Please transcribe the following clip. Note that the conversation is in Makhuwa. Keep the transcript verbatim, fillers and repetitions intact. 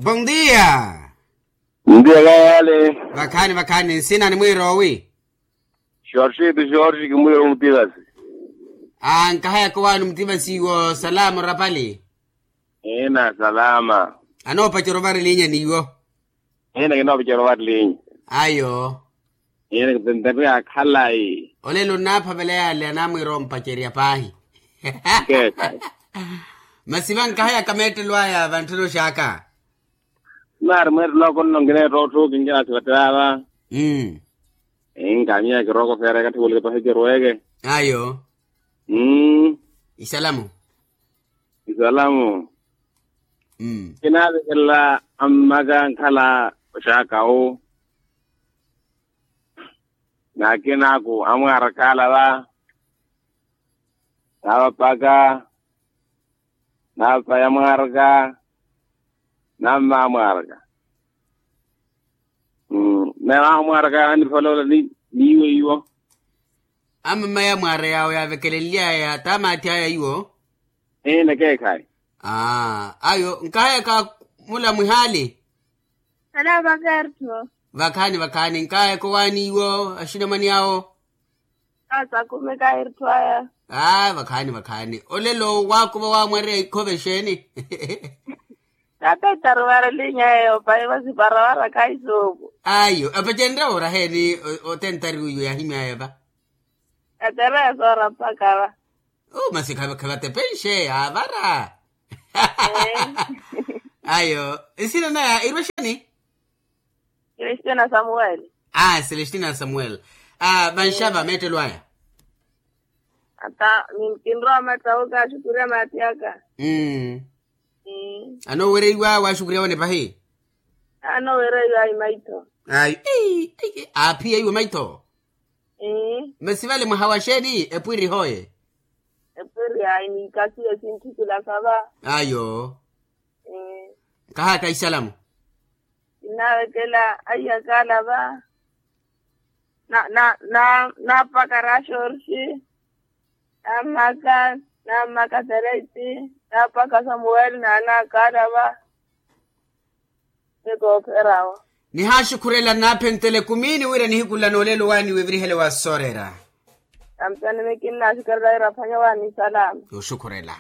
Bondia. Ndiya kayale. Vakhaani vakhaani nsina ni mwiiroowi? Xorxi ti xorxi kimwiiro mutivasi. Nkahayaka owaani mutivasi iwo salama orapali. Ina salama. Anoopacera ovarilinya n'iwo. Ina kinoopacera ovarilinya. Ayo. Ina kipenteri akhalayi. Olelo nnaaphavela yaale anaamwiira ompacerya paahi. Keekhayi. Masi vankahayaka meettelo aya vantthuna oxaaka. Naari mweettelo ako nno nkineetta otthu kinkinaasivattela ava. Nkamiya kirooko feera ekatthi wuleke pahi kiruweke. Ayo. Isalamu. Isalamu. Kinaavekelela ammaka nkhala oxaaka wu. N'akinaaku amwaaraka ala va. Naavapaka. Naapaya mwaaraka. Nammaya mwaaraka. Naamwaaraka yaanipholoola. Niiwo iwo. Amamaya mwaara yaawo yaavekelenly'aya taamaathi aya iwo. Ina keekhayi. Ayo nkahayaka mula mwihaali. Salama kertho. Vakhaani vakhaani nkahayaka owaani iwo axinamwani awo. Asakumeka ertho aya. Aa vakhaani vakhaani olelo waakuva waamwareya ikhove exeeni? Tapettaru varelinya eyo pahi vasiparawara kaisoopu. Ayo apacenrya wooraheeni? Otentari wiyo yaahimyaya va. Yatereya soora mpakha va. Masi khavatepenshe avara. Ayo nsina naya irwa exeeni? Celestina samuel. Aa celestina samuel. Vanxava meettelo aya. Ata kinrowa mattawuka axukurya maati aka. Anoowereiwa waaxukurya wane pahi. Anoowereiwa ayi maitho. Ayi. Aaphiyeiwe maitho. Masi vale mwaha wa xeeni epwiri hooye? Epwiri ayi niikasiye sintthukilaka va. Ayo. Nkahayaka isalamu. Kinnaavekela aiyaka ala va. Naapaka raxorxi. Nammaka. Nammaka tereiti. Naapaka samuweli naanaaka ala va. Ni koopherawo. Nihaaxukhurela nnaaphentela ekumini wira nihiku nla noolelo waani wivirihele wa sooreera. Ampani mikinna axukhurela wira aphwanya waani salama. Yooxukhurela.